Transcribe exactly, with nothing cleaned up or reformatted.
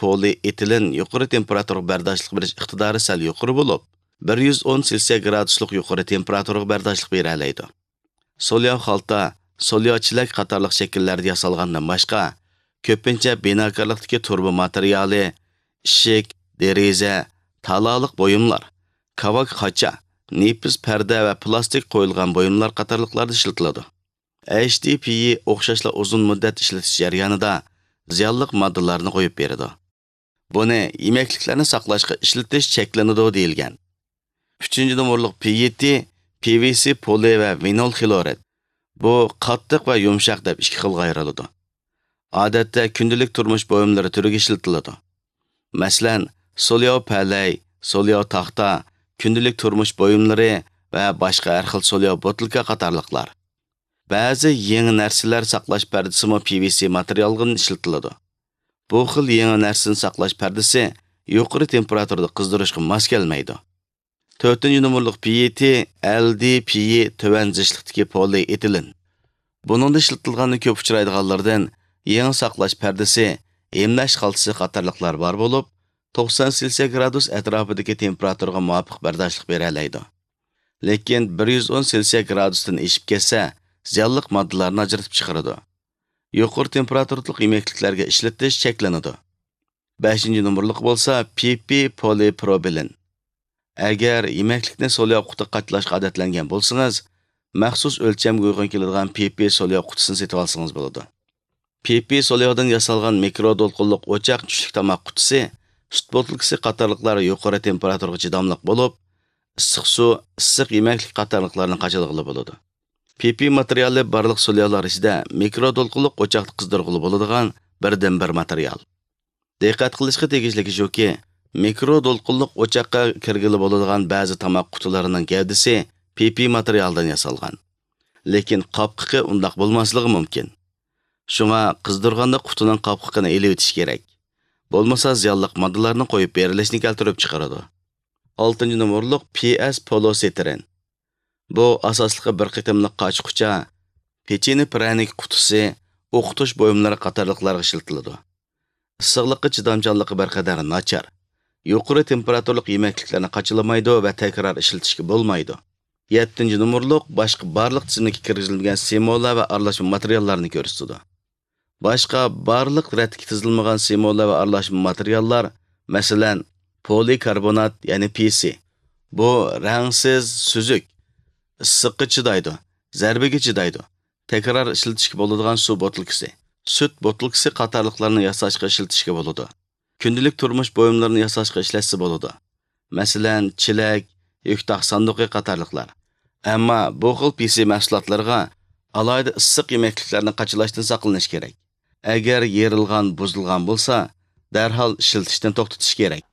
پولىئېتىلېن يۇقىرى تېمپېراتۇرىغا بەرداشلىق بېرىش ئىقتىدارى سەل يۇقىرى بولۇپ، بىر يۈز ئون سېلسىيە گرادۇسلۇق يۇقىرى تېمپېراتۇرىغا بەرداشلىق بېرەلەيدۇ. سولياۋ خالتا، سولياۋ چېلەك قاتارلىق شەكىللەردە ياسالغاندىن باشقا، كۆپىنچە بىناكارلىقتىكى تۇرۇبا ماتېرىيالى، ئىشىك، دېرىزە، تالالىق بۇيۇملار، كاۋاك خاچا، نېپىز پەردە ۋە پىلاستىك قويۇلغان بۇيۇملار قاتارلىقلاردا ئىشلىتىلىدۇ. ئەيچ دى پى ئى ئوخشاشلا ئۇزۇن مۇددەت ئىشلىتىش جەريانىدا زىيانلىق ماددىلارنى قويۇپ بېرىدۇ. بۇنى يېمەكلىكلەرنى ساقلاشقا ئىشلىتىش چەكلىنىدۇ دېيىلگەن. ئۈچىنچى نومۇرلۇق پى ئى تى، پى ۋى سى پولى ۋە ۋىنول خلورىد. بۇ قاتتىق ۋە يۇمشاق دەپ ئىككى خىلغا ئايرىلىدۇ. ئادەتتە كۈندىلىك تۇرمۇش بۇيۇملىرى تۈرىگە ئىشلىتىلىدۇ. مەسىلەن، سولياۋ پەلەي، سولياۋ تاختا، كۈندىلىك تۇرمۇش بۇيۇملىرى ۋە باشقا ھەر خىل سولياۋ بوتۇلكا قاتارلىقلار. بەزى يېڭى نەرسىلەر ساقلاش پەردىسىمۇ پى ۋى سى ماتېرىيالدىن ئىشلىتىلىدۇ. بۇ خىل يېڭى نەرسىنى ساقلاش پەردىسى يۇقىرى تېمپېراتۇرىدا قىزدۇرۇشقا ماس كەلمەيدۇ. تۆتىنچى نومۇرلۇق پى ئى تى، ئەل دى پى ئى تۆۋەن زىچلىقتىكى پولىئېتىلېن. بۇنىڭدا ئىشلىتىلغاندا كۆپ ئۇچرايدىغانلىرىدىن يېڭى ساقلاش پەردىسى، ھىملەش خالتىسى قاتارلىقلار بار بولۇپ، توقسان سېلسىيە گرادۇس ئەتراپىدىكى تېمپېراتۇرىغا مۇۋاپىق بەرداشلىق بېرەلەيدۇ. لېكىن بىر يۈز ئون سېلسىيە گرادۇستىن ئېشىپ كەتسە، زىيانلىق ماددىلارنى ئاجرىتىپ چىقىرىدۇ. يۇقىرى تېمپېراتۇرىلىق يېمەكلىكلەرگە ئىشلىتىش چەكلىنىدۇ. بەشىنچى نومۇرلۇق بولسا پى پى پولىپروپىلېن. ئەگەر يېمەكلىكنى سولياۋ قۇتىغا قاچىلاشقا ئادەتلەنگەن بولسىڭىز، مەخسۇس ئۆلچەمگە ئۇيغۇن كېلىدىغان پى پى سولياۋ قۇتىسىنى سېتىۋالسىڭىز بولىدۇ. پى پى سولياۋدىن ياسالغان مىكرو دولقۇنلۇق ئوچاق، چۈشلۈك تاماق قۇتىسى، سۈت بوتۇلكىسى قاتارلىقلار يۇقىرى تېمپېراتۇرىغا چىداملىق بولۇپ، ئىسسىق سۇ، ئىسسىق يېمەكلىك قاتارلىقلارنى قاچىلىغىلى بولىدۇ. پى پى ماتېرىيالى بارلىق سولياۋلار ئىچىدە مىكرو دولقۇنلۇق ئوچاقتا قىزدۇرغىلى بولىدىغان بىردىنبىر ماتېرىيال. دىققەت قىلىشقا تېگىشلىكى شۇكى، مىكرو دولقۇنلۇق ئوچاققا كىرگىلى بولىدىغان بەزى تاماق قۇتىلىرىنىڭ گەۋدىسى پى پى ماتېرىيالدىن ياسالغان. لېكىن قاپقىقى ئۇنداق بولماسلىقى مۇمكىن. شۇڭا قىزدۇرغاندا قۇتىنىڭ قاپقىقىنى ئېلىۋېتىش كېرەك. بولمىسا زىيانلىق ماددىلارنى قويۇپ بېرىلىشنى كەلتۈرۈپ چىقىرىدۇ. ئالتىنچى نومۇرلۇق پى ئەس پولوسېتىرىن. بۇ ئاساسلىقى بىر قېتىملىق قاچا-قۇچا، پېچىنە پىرەنىك قۇتىسى، ئوقۇتۇش بۇيۇملىرى قاتارلىقلارغا ئىشلىتىلىدۇ. ئىسسىقلىققا چىدامچانلىقى بىر قەدەر ناچار. يۇقىرى تېمپېراتۇرىلىق يېمەكلىكلەرنى قاچىلىمايدۇ ۋە تەكرار ئىشلىتىشكە بولمايدۇ. يەتتىنچى نومۇرلۇق باشقا بارلىق تىزىملىككە كىرگۈزۈلمىگەن سېمولا ۋە ئارىلاشما ماتېرىياللارنى كۆرسىتىدۇ. باشقا بارلىق رەتكە تىزىلمىغان سېمولا ۋە ئارىلاشما ماتېرىياللار، مەسىلەن، پولىكاربونات، يەنى پى سى. بۇ رەڭسىز، سۈزۈك، ئىسسىققا چىدايدۇ، زەربىگە چىدايدۇ، تەكرار ئىشلىتىشكە بولىدىغان سۇ بوتۇلكىسى، سۈت بوتۇلكىسى قاتارلىقلارنى ياساشقا ئىشلىتىشكە بولىدۇ. كۈندىلىك تۇرمۇش بۇيۇملىرىنى ياساشقا ئىشلەتسە بولىدۇ. مەسىلەن، چېلەك، يۈك تاق ساندۇقى قاتارلىقلار. ئەمما بۇ خىل پى سى مەھسۇلاتلىرىغا ئالاھىدە ئىسسىق يېمەكلىكلەرنى قاچىلاشتىن ساقلىنىش كېرەك. ئەگەر يېرىلغان، بۇزۇلغان بولسا، دەرھال ئىشلىتىشتىن توختىتىش كېرەك.